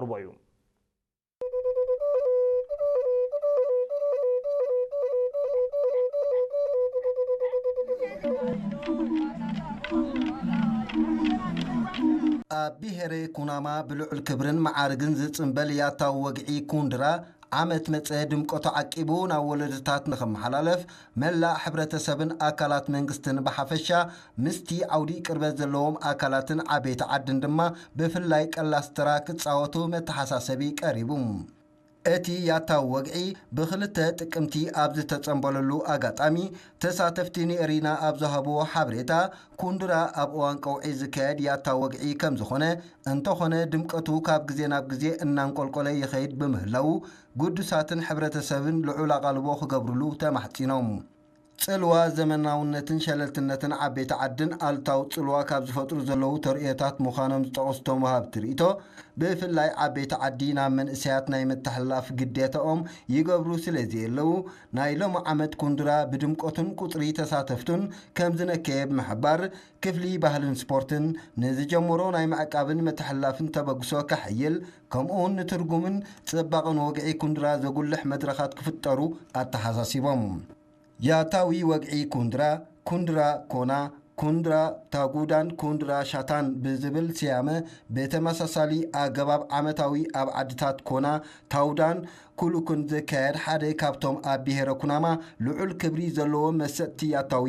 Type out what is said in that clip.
ርቦ እዩ። ኣብ ብሄረ ኩናማ ብልዑል ክብርን መዓርግን ዝጽንበል ያታዊ ወግዒ ኩንድራ ዓመት መጸ ድምቀቱ ዓቂቡ ናብ ወለዶታት ንኽመሓላለፍ መላእ ሕብረተሰብን ኣካላት መንግስትን ብሓፈሻ ምስቲ ዓውዲ ቅርበት ዘለዎም ኣካላትን ዓበይቲ ዓድን ድማ ብፍላይ ቀላስ ተራ ክጻወቱ መተሓሳሰቢ ቀሪቡ። እቲ ያታዊ ወግዒ ብክልተ ጥቅምቲ ኣብ ዝተጸንበለሉ ኣጋጣሚ ተሳተፍቲ ንኤሪና ኣብ ዝሃብዎ ሓበሬታ ኩንድራ ኣብ እዋን ቀውዒ ዝካየድ ያታዊ ወግዒ ከም ዝኾነ እንተኾነ ድምቀቱ ካብ ግዜ ናብ ግዜ እናንቆልቆለ ይኸይድ ብምህላዉ ግዱሳትን ሕብረተሰብን ልዑል ኣቓልቦ ክገብርሉ ተማሕጺኖም። ጽልዋ ዘመናውነትን ሸለልትነትን ዓበይቲ ዓድን ኣሉታዊ ጽልዋ ካብ ዝፈጥሩ ዘለዉ ተርእዮታት ምዃኖም ዝጠቐሱ እቶም ወሃብቲ ርእይቶ፣ ብፍላይ ዓበይቲ ዓዲ ናብ መንእሰያት ናይ ምትሕልላፍ ግዴታኦም ይገብሩ ስለ ዘየለዉ፣ ናይ ሎሚ ዓመት ኩንድራ ብድምቀቱን ቁጽሪ ተሳተፍቱን ከም ዝነከየ ብምሕባር፣ ክፍሊ ባህልን ስፖርትን ንዝጀመሮ ናይ ምዕቃብን ምትሕልላፍን ተበግሶ ከሐይል፣ ከምኡውን ንትርጉምን ጽባቐን ወግዒ ኩንድራ ዘጉልሕ መድረኻት ክፍጠሩ ኣተሓሳሲቦም። ያታዊ ወግዒ ኩንድራ፣ ኩንድራ ኮና፣ ኩንድራ ታጉዳን ኩንድራ ሻታን ብዝብል ስያመ ብተመሳሳሊ ኣገባብ ዓመታዊ ኣብ ዓድታት ኮና፣ ታውዳን ኩሉኩን ዝካየድ ሓደ ካብቶም ኣብ ብሄረ ኩናማ ልዑል ክብሪ ዘለዎ መሰጥቲ ያታዊ